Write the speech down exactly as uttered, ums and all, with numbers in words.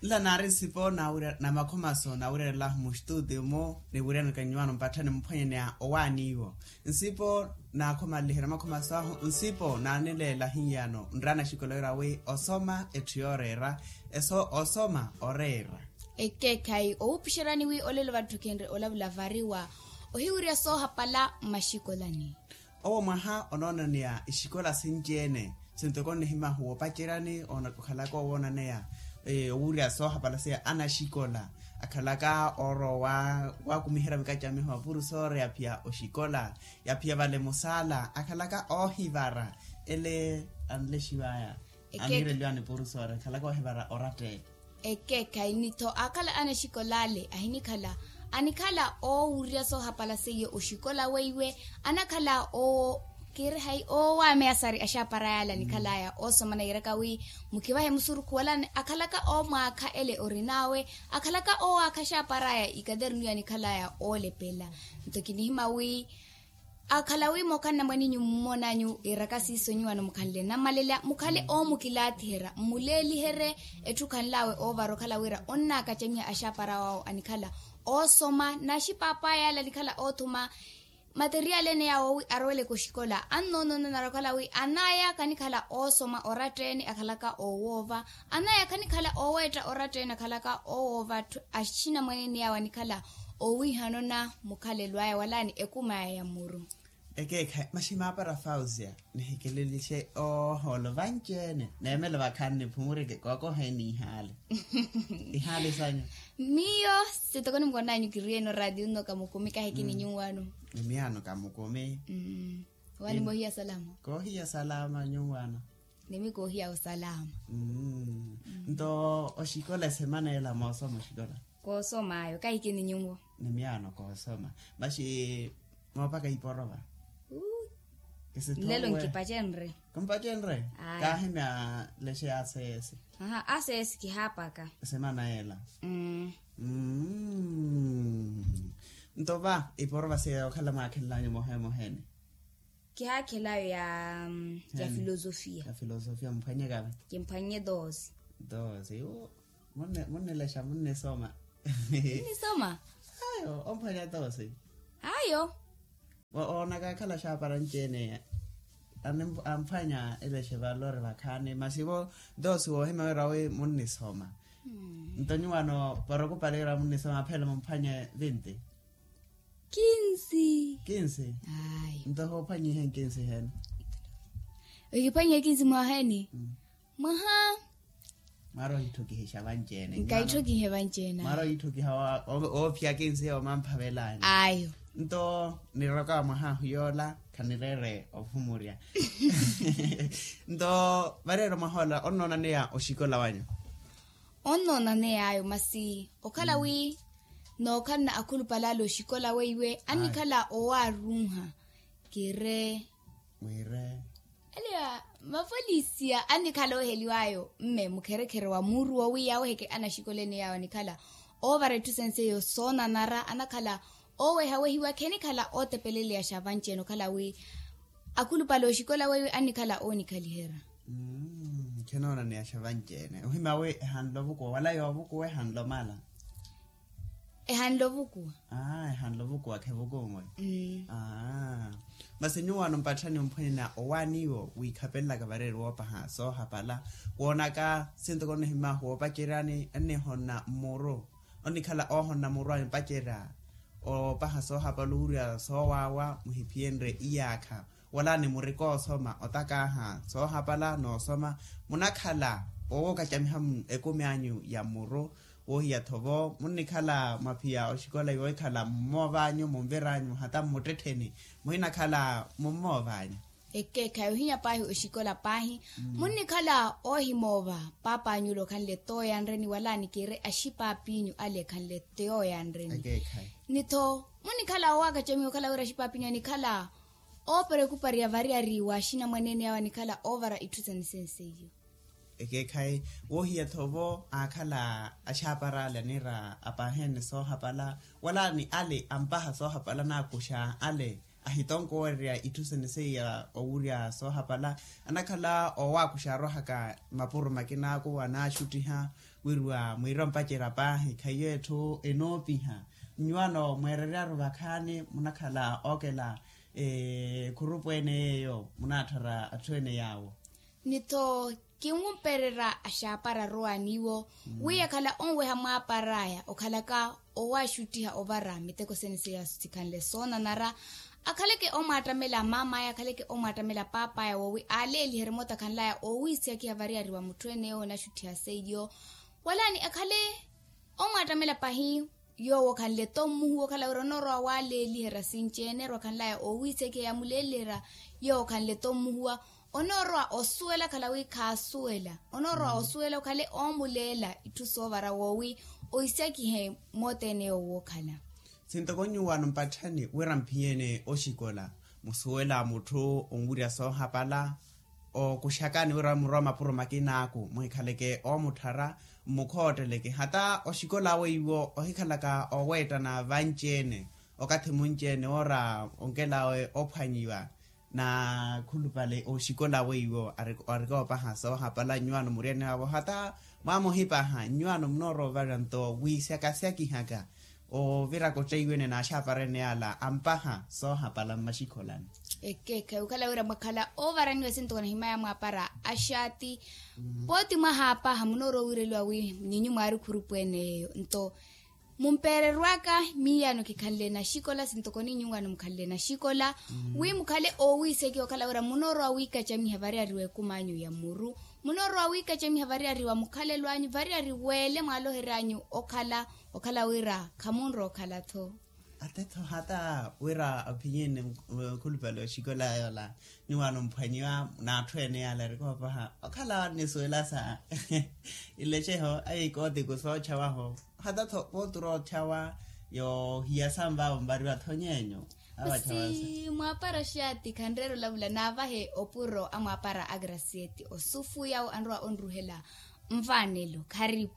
Nla naari nsipo namakhomaso naawiryalela ahu muxtuutiyo-mo, niwiryanaka nyuwaano mpatthani mphwanyaneya owaani iwo. Nsipo naakhomalihira makhomaso ahu nsipo naanileela hiyano nraana axikola wira wi osoma etthu yooreera. Eso osoma oreera. Ekeekhayi owuupuxerani wi olelo vatthu khenre olavula variwa ohiwirya soohapala mmaxikolani. Owo mwaha onoonaneya ixikola sinci-ene sintoko nnihimahu woopaceryani okhalaka owoonaneya owuurya soohapala seiya anaxikola akhalaka oorowa waakumiherya mikacamiho apurusoore yaphiya oxikola yaphiya vale musaala akhalaka oohivara ele anlexiwaya amiireliwani purusoore akhalaka oohivara oratte. Ekeekhayi nitho aakhala anaxikola ale ahinikhala anikhala oowurya soohapala seiyo oxikola weiwe anakhala oo kiiri hayi oowameyasari axaapara yaale anikhalaya oosoma nairaka wi mukivahe musurukhu wala akhalaka oomwaakha ele orin'awe akhalaka oowaakha axaapar'aya ikadernu yanikhalaya oolepela. Nto kinihima wi akhala wi mookhanna mwan'inyu mummon'anyu iraka siiso nyuwano mukhanle namalelela mukhale oomukilaatiherya mmuleeliherye etthu khanl'awe oovara okhala wira onnaakacamiha axaapara wawo anikhala oosoma n'axipaapa yaale anikhala oothuma materiali ene yaawo wi aroweleke oxikola annoonoonanara okhala wi an'aya khanikhala oosoma oratta-ene akhalaka oowoova an'aya khanikhala ooweetta oratta-ene akhalaka oowoova atthu axinamwane ene yaawo anikhala owiihanona mukhalelo aya wala ni ekum'aya ya muru. Ekeekhayi masi maapara fausia nihikelelixe oohoolo vanci-ene neemelo vakhaani niphumurike kookoheni ihaali. Ihaali sanyu. Miyo sitoko nimukon'anyu kiriye-ene oraatiyo nno kamukumi kahikini nyuwano. Ni miyaano kamukumi. Wani moohiya salama. Koohiya salama nyuwano. Ni mi koohiya osalama. Nto oxikola esemana ela moosoma oxikola. Koosoma ayo kahikini nyuwo. Ni miyaano koosoma. Masi moopaka iporova. Nlelo nkipacenre. Kumpacenre. Kaahimya lexe ya aseesi. Aseesi kihaapaka. Esemana ela. Nto va iporova seiya okhala mwaakhenlanyu mohemoheni. Kihaakhelayo ya ya filosofia. Ya filosofia mphwanyekava. Kimphwanye dosi. Dosi. Munnilexa munnisoma. Munnisoma. Ayo omphwanya dosi. Ayo. Oonaka akhala axaapara anci-ene amphwanya elexe valori vakhaani masi vo dosi woohimya wira wi munnisoma. Nto nyuwano para okupale wira munnisoma aphela mumphwanye vinti. Kinsi. Kinsi. Ayi. Nto hoophwanyihe nkinsi hene. Ohiphwanyihe kinsi mwaha eni. Mwaha. Mwari ohithukihixa vanci-ene. Nkaithukihe vanci-ene. Mwari ohithukiha oophiya kinsi yoomamphavelani. Ayo. Nto niroka mwaha ahu yoola khanireere ophumurya. Nto vareera mwaha ola onnoonaneya oxikola wanyu. Onnoonaneya ayo masi okhala wi nookhalana akhulupale ale oxikola weiwe annikhala owaarunha. Kire. Wire. Aliya mavolisiya annikhala ooheliw'ayo mme mukherekhere wa muuruwo wi yaaweheke anaxikola ene yaawo anikhala oovara etthu senseiyo soonanara anakhala oowehawehiwa khenikhala ootepeleleya xa vanci-ene okhala wi akhulupale oxikola weiwe annikhala oonikhaliherya. Khenoonaneyasha vanci-ene ohimya wi ehanle ovukuwa wala yoovukuwa ehanle omala. Ehanle ovukuwa. Ehanle ovukuwa khevukuwa mwe. Masi nyuwaano mpatthani omphwanyana owaani iwo wiikhapelelaka vareeri woopaha soohapala woonaka sintoko nnihimahu woopaceryani ennihonna mmuru onnikhala oohonna muru anyu pacerya oopaha soohapala owurya soowaawa muhiphiyenrye iyaakha wala ni murika oosoma otakaaha soohapala n'osoma munakhala oowokacamiha ekumi anyu ya muru woohiya-tho vo munnikhala mwaphiya oxikola yoohikhala mmoovanyu munviranyu hata mmuttettheni muhinakhala mummoovanyu. Ekeekhayi ohinya paahi oxikola paahi munnikhala oohimoova paap'anyu ole okhanle tooyanreni wala nikire axipaapiinyu ale ekhanle tooyanreni. Ni-tho munnikhala oowakacamiha okhala wira axipaapiinyu anikhala ooperekupariya variyari wa axinamwane ene awo anikhala oovara itthu sani senseiyo. Ekeekhayi woohiya-tho vo aakhala axaapara ale aniira apaahe-ene soohapala wala ni ale ampaha soohapala naakuxa ale Ahitonkowererya itthu sene seiya owurya soohapala, anakhala owakuxa arohaka mapuro makinaaku anaaxuttiha, wiriwa mwiira ompacerya paahi khaiyo etthu enoopiha. Nnyuwano mweereryaru vakhaani munakhala ookela ekhurupu ene yeeyo munaatthara atthu ene yaawo. Ni-tho kinwumpererya axaapara arowa niiwo, wi yakhala onweha mwaapar'aya okhalaka owaaxuttiha ovara miteko sene seiya sikhanle soonanara. Akhaleke omwaattamela maam'aya akhaleke omwaattamela paap'aya woowi aaleeliherye moota akhanl'aya oowiisakiha variyari wa mutthu ene yoowo onaxuttiha seiyo. Walaani akhale omwaattamela pahi yoowo okhanle-tho mmuhuwa okhala wira onoorowa waaleeliherya sinci-ene erwa akhanl'aya oowiisakiha yamuleeliherya yoowo okhanle-tho mmuhuwa. Onoorowa osuwela akhala wi khaasuwela onoorowa osuwela okhale oomuleela itthu soovara woowi oisakihe moota ene yoowo wookhala. Sintoko nyuwaano mpatthani wira mphiyeene oxikola musuwela mutthu onwirya soohapala. Okuxakani wira murowa mapuro makinaaku muhikhaleke oomutthara mmukhootteleke hata oxikola weiwo ohikhalaka oweettana vanci-ene okathi munci-ene woora onkelawe ophwanyiwa. Nakhulupale oxikola weiwo arikoopaha soohapala nnyuwaano muriyani waavo hata mwaamuhipaha nnyuwaano munoorowa ovara nto wiisyakasyakihaka oviraka otteiwene n'axaapara ene yaala ampaha soohapala mmaxikholani. Ekeekhayi okhala wira mwakhala oovaraniwa esinto kanahimaya mwaapara axaati pooti mwahaapaha munoorowa owiireliwa wi ninyu mwaari khurupu ene yeeyo nto mumpeererwaka miiyano kikhanle naxikola sintoko ninyu wano mukhanle naxikola wi mukhale oowiisekiwa okhala wira munoorowa wiikacamiha variyari w'ekum'anyu ya muru munoorowa wiikacamiha variyari wa mukhalelo anyu variyari weele mwaalohery'anyu okhala okhala wira khamunrowa okhala-tho. Atetho hata wira aphinyene nkhulupale oxikola yoola ni wano mphwanyiwa n'atthu ene yaala erikoopaha okhala nisuwela sa ileceho ayi kootiku soochawaho hata-tho pooti oroochawa yoohiya sanvaavo mbariwa-tho nyeenyu. Awachawa sa. Mwaapara xaati khanreera olavula naavahe opuro a mwaapara a gracieti osufu yawo anrowa onruhela nvaanelo kharipu.